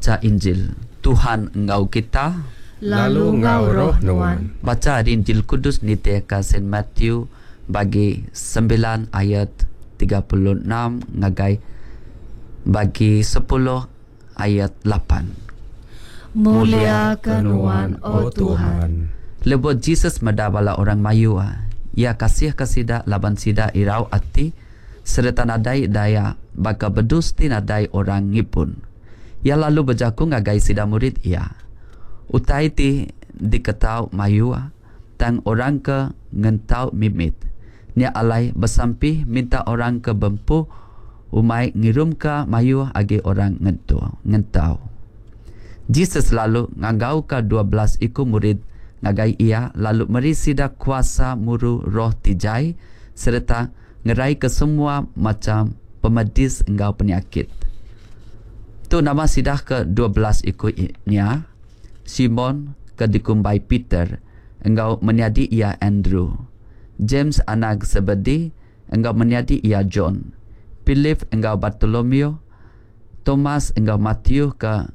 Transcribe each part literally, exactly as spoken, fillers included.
Bacha Injil. Tuhan enggau kita. Lalu enggau roh nuan. Bacha ari Injil Kudus nitihka Saint Matthew bagi sembilan ayat tiga puluh enam ngagai bagi sepuluh ayat lapan. Mulia ke nuan, O Tuhan. Lebuh Jesus meda bala orang mayuh, iya kasih ke sida laban sida irau ati sereta nadai daya baka bedus ti nadai orang ngibun. Iya lalu bejaku ngagai sida murid iya, Utai ti diketau mayuh, tang orang ke ngentau mimit. Nya alai besampi minta orang ke bempu umai ngirumka mayuh agi orang ngentu, ngentau. Jesus lalu nganggauka dua belas iku murid ngagai iya lalu meri sida kuasa muru roh ti jai sereta ngeraika semua macham pemedis enggau penyakit. Tu nama sida ke dua belas iku nya, Simon ke dikumbai Peter enggau menyadi iya Andrew, James anak Zebedee enggau menyadi iya John, Philip enggau Bartolomeo, Thomas enggau Matthew ke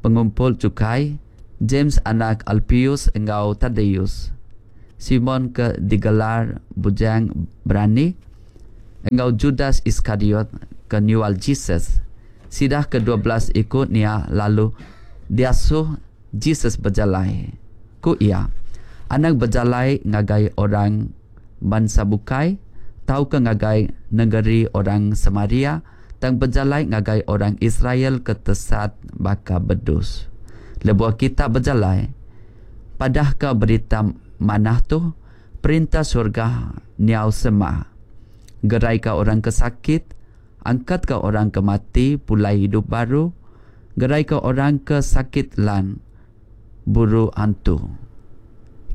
pengumpul cukai, James anak Alpius enggau Tadeus, Simon ke digelar Bujang Berani, enggau Judas Iskariot ke nyual Jesus. Sida ke dua belas iku nya lalu diasuh Jesus bejalai. Ku iya, Anang bejalai ngagai orang bansa bukai tauka ngagai nengeri orang Samaria, tang bejalai ngagai orang Israel ke tesat baka bedus. Lebuh kita bejalai, padahka berita manah tu, Perintah surga nyau semak. Geraika orang ke sakit, angkatka orang ke mati pulai hidup baru, geraika orang ke sakit lan buru antu.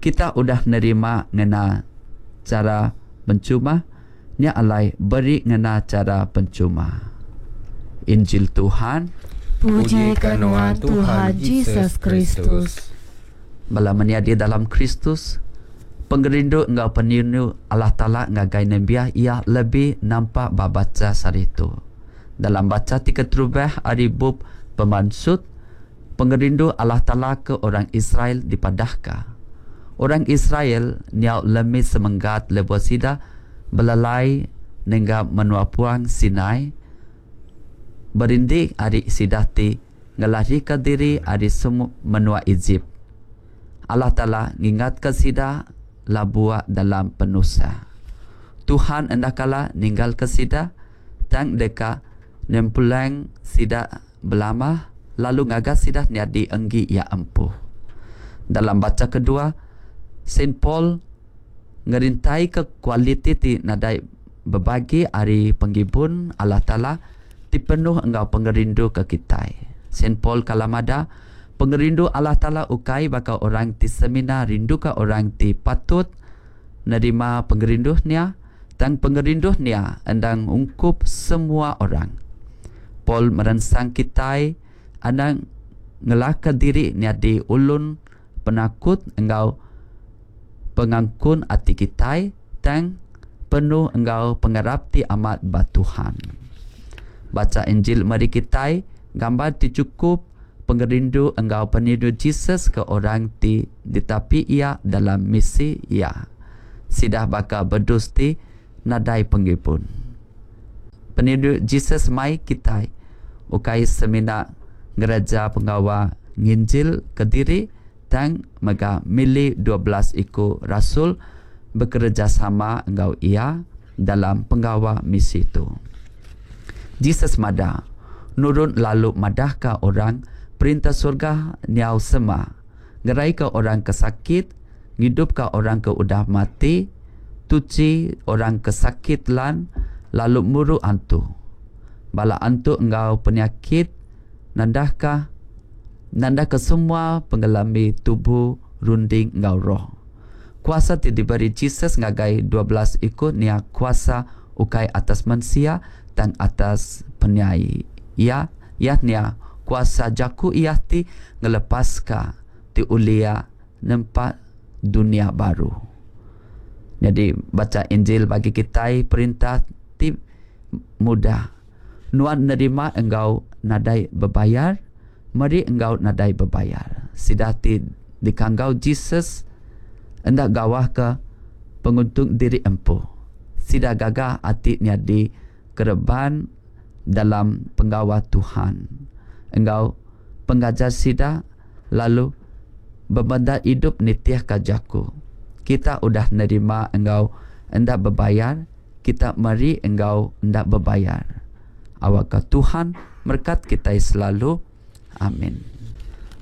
Kita udah nerima ngena cara pencuma, nya alai beri ngena cara pencuma. Injil Tuhan. Puji ke nuan Tuhan Jesus Kristus. Bala menyadi dalam Kristus, pengerindu enggau penyinu Allah Taala ngagai nembiak iya lebih nampak ba bacha sehari tu. Dalam bacha ti keterubah ari bup Pemansut, pengerindu Allah Taala ke orang Israel dipadahka. Orang Israel nyau lemi semenggat lebuh sida belalai nengah menua puang Sinai, berindik ari sida ti ngelarika diri ari semua menua Ejip. Allah Taala ngingatka sida labuh dalam penusah. Tuhan enda kala ninggalka sida, tang deka nempulang sida belama lalu ngaga sida nyadi enggi iya empu. Dalam bacha kedua, Saint Paul ngerintaika kualiti ti nadai bebagi ari pengibun Allah Taala ti penuh enggau pengerindu ke kitai. Saint Paul kala madah, pengerindu Allah Taala ukai baka orang ti semina rinduka orang ti patut nerima pengerindu nya, tang pengerindu nya endang ungkup semua orang. Paul meransang kitai anang ngelaka diri nyadi ulun penakut enggau pengangkun ati kitai, tang penuh enggau pengarap ti amat ba Tuhan. Bacha Injil meri kitai gambar ti chukup pengerindu enggau penyinu Jesus ke orang ti ditapi iya dalam misi iya. Sida baka bedus ti nadai pengibun. Penyinu Jesus mai kitai ukai semina ngereja pengawa nginjil kediri, tang mega milih dua belas iku rasul bekerejasama enggau iya dalam pengawa misi tu. Jesus madah, nurun lalu madahka orang perintah surga nyau semak, ngeraika orang ke sakit, ngidupka orang ke udah mati, tuchi orang ke sakit lan, lalu muru antu. Bala antu enggau penyakit nandahka nandahka semua pengelami tubuh, runding enggau roh. Kuasa ti diberi Jesus ngagai dua belas iku nya kuasa ukai atas mensia tang atas penyai. Iya, iya nya kuasa jaku iya ti ngelepaska ti ulih nempa dunia baru. Jadi baca Injil bagi kitai perintah ti mudah. Nuan nerima enggau nadai bebayar, Meri enggau nadai bebayar. Sida ti dikanggau Jesus enda gawah ke penguntung diri empu. Sida gaga ati nyadi kereban dalam penggawa Tuhan enggau pengajar sida lalu bebendar idup nitih ka jaku. Kita udah nerima enggau enda bebayar, kita meri enggau enda bebayar. Awakka Tuhan merkat kitai selalu. Amin.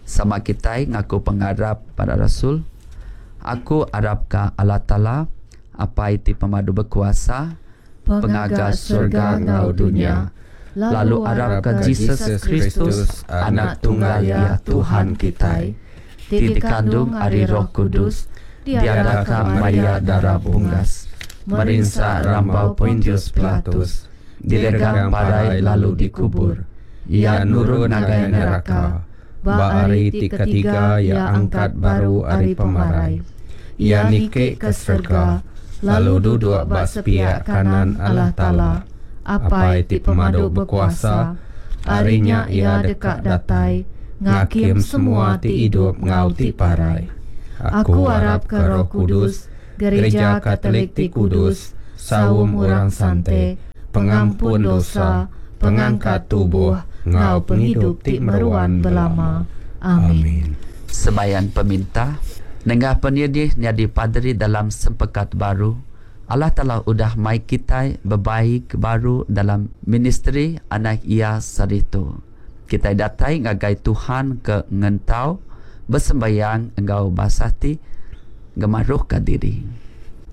Sama kitai ngaku pengarap para rasul. Aku arapka Allah Taala, Apai ti pemadu bekuasa, pengaga surga enggau dunya, lalu arapka Jesus Kristus, Anak Tunggal Iya Tuhan kitai, ti dikandung ari Roh Kudus, diadaka Maria Dara Bungas, merinsa rambau Pontius Pilatus, diregang parai lalu dikubur, Iya nurun ngagai neraka, Ba hari ti ketiga Iya angkat baru ari pemarai. Iya niki ke serega, lalu duduk ba sepiak kanan Allah Taala, Apai ti pemadu bekuasa. Ari nya Iya deka datai, ngakim semua ti idup enggau ti parai. Aku arapka Roh Kudus, Gereja Katolik ti kudus, saum orang sante, pengampun dosa, pengangkat tubuh, enggau pengidup ti meruan belama. Amin. Sembahyang peminta nengah penyedih nyadi paderi dalam sempekat baru. Allah Taala udah mai kitai bebaik baru dalam ministri anak Iya saritu. Kitai datai ngagai Tuhan ke ngentau bersembayang enggau basati gemaruhka diri.